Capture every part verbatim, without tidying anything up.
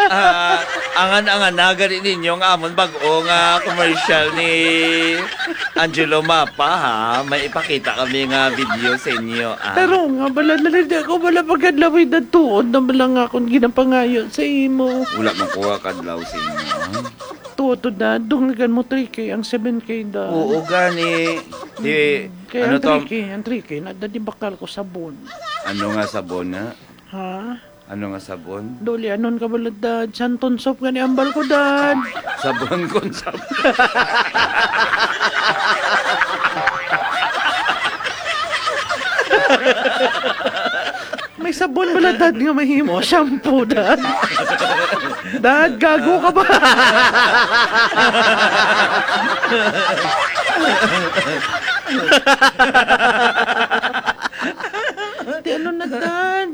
Ah, angan-angan na gani ninyo ang amon bag-o nga commercial ni Angelo Mapa, ha? May ipakita kami nga video sa inyo, ah. Pero nga, bala na lang, di ako bala pagkadlawid na tuod na bala nga akong ginapangayo sa imo. Wala man ko kadlaw sa inyo, ha? Tuod to, Dad, dungagan mo three K ang seven K, Dad. Oo, gani. Di, Mm. Kaya ano ang to? Three K, ang three K, na, Dad, ibakal ko sabon. Ano nga sabon na? Ha? Ano nga sabon? Duli, anon ka bala, Dad? Santon soap gani ambal ko, Dad. Sabon kon sabon. May sabon bala, Dad, nga mahimo? Shampoo, Dad. Dad, gago ka ba? Di ano na, Dad?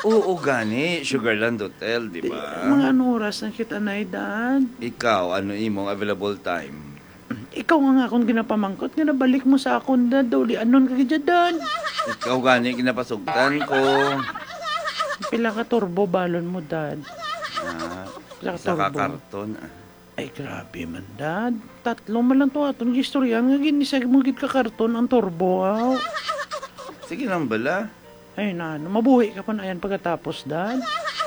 Oo, gani. Sugarland Hotel, di ba? Mga anong oras na kita na, Dad? Ikaw, ano imong available time? Ikaw nga nga akong ginapamangkot nga nabalik mo sa akon, Dad. Duli, anon ka gid, Dad? Ikaw gani ginapasugtan ko. Pila ka turbo balon mo, Dad? Ah, Pila ka isa ka turbo? Karton, ah. Ay, grabe man, Dad. Tatlo man lang to aton gistoryahan nga ginisag mo gid ka karton ang turbo, aw. Sige lang bala. Ay, na, ano, mabuhi ka pa na yan pagkatapos, Dad?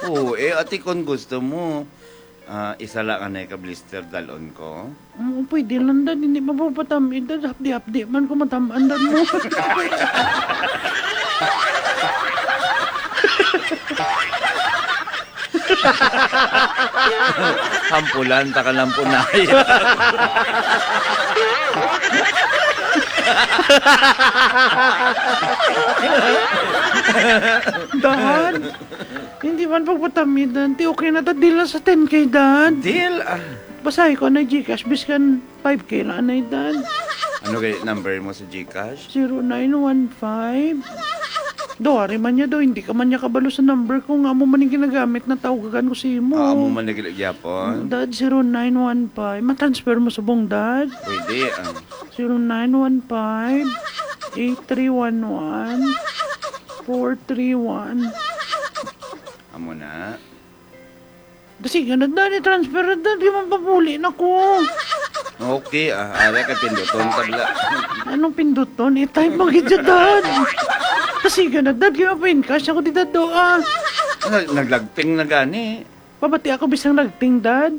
Oo, eh, ati, kung gusto mo, ah, isa lang anay ka blister dalon ko. Mm, pwede lang, Dad. Hindi mapapatam-id, Dad. Hapdi-hapdi man kung matam-an, Dad, mo. Hampulan, ta ka lang punay. Dad, hindi man pagpatamidan. Ti okay na ta, dila sa ten K, Dad. Deal, ah. Basahi ko na GCash, biskan five K na anay, Dad. Ano kay number mo sa GCash? Zero nine one five. Do, ari man niya do, hindi ka man niya kabalo sa number ko, nga amo man yung ginagamit na tawagan ko sa imo. Ah, amo man na gid gyapon? Dad, zero nine one five. Ma-transfer mo subong, Dad? Pwede, ah. Zero nine one five, eight three one one, four three one. Amo na. Kasi ganun, Dad, i-transfer na, Dad, di man papuli na ko. Okay, ah, ara ka pinduton, tabla. Anong pinduton? I-type mo gid siya, Dad. Kasi ganun, Dad, kaya pa-encash ako di, Dad, do, ah. Nag-, naglagting na gani. Pabati ako bisang lagting, Dad.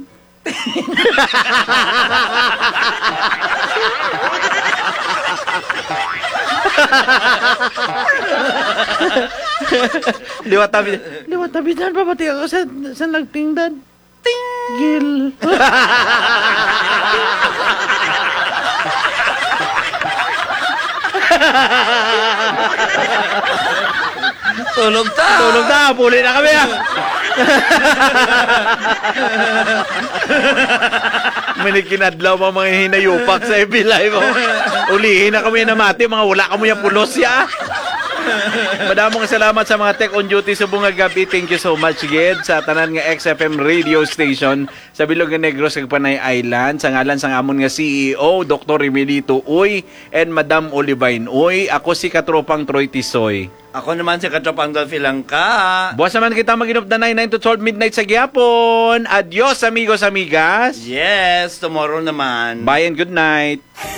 Liwat tabi. Liwat tabi, Dad, pabati ako sa, sa lagting, Dad. Tinggil. Tulog ta! Tulog ta! Puli na kami, ah! May nagkinadlaw, mga, mga hinayupak sa F B Live, oh. Ulihin na kami namati, mga wala kamo yung pulos, ya. Madamong salamat sa mga tech on duty subong nga gabi. Thank you so much, gid, sa tanan nga X F M radio station sa Bilog nga Negros kag Panay Island. Sa ngalan sang amon nga C E O, Doktor Emilito Uy, and Madam Olivine Uy, ako si Katropang Troy Tisoy. Ako naman si Katropang Dolphy Langka. Buwas naman kita mag-inupdanay, nine to twelve midnight sa gihapon. Adios, amigos, amigas. Yes, tomorrow naman. Bye and good night.